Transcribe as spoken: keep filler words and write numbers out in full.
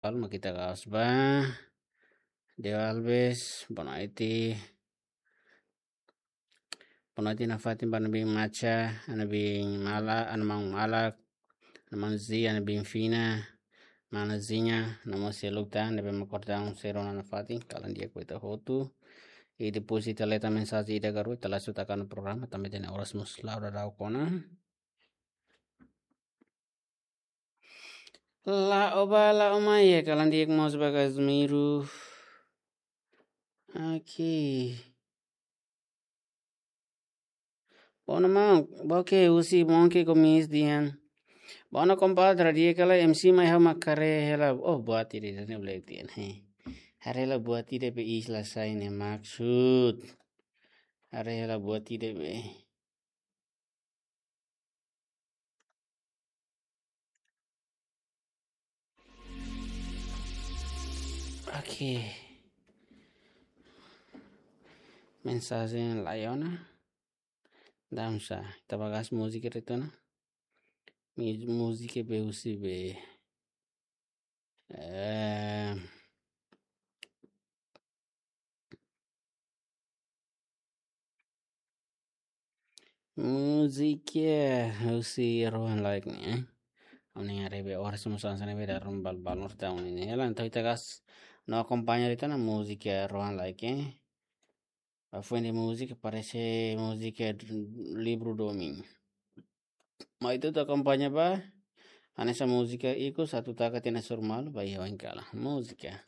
Alma kita kaos ba. Deo Alves, boa noite. Boa noite nafatin ba Ana Bin Macha, Ana Bin Mala, Ana Maun Malak, Ana Maun Zi, Ana Bin Fina, Mana Zinha, Ana Maun Seluk tan, ne'ebé mak kordang sero nafatin, kalan di'ak ba ita hotu. I depois ita lee tan mensajen ida ka rua, ita langsung taka ona programa, tanba ita-nia oras mós la'o daudauk ona. La'o bá, la'o mai, kalan di'ak mós ba Casimiro. Oke. Boa ona maun, boa ke husi Monkey Gomes dehan. Boa ona kompadre, di'ak ka lae, M C mai ha'u mak haree hela. Oh, buat ida-ne'e, black dehan, he. Haree hela buat ida be isla sai ne'e maksud. Haree hela buat ida be. Oke. Mensajen laiha ona. Dansa. Ita bá gas múzika retorna. Mi-, múzika be husi be. Eh, múzika husi Rohan Laik ne'e, eh. Ha'u-nia haree be oras mós hanesan ne'ebé darum bal-bal nor taun ne'e. Hela, entaun ita gas no akompaña ita-nia múzika Rohan Laik, eh. Ba foin de'it múzika, parese múzika Livru Domin. Mai ita akompaña ba. Hanesan múzika ikus atu taka tiha ona surmalu ba iha wain kala. Múzika.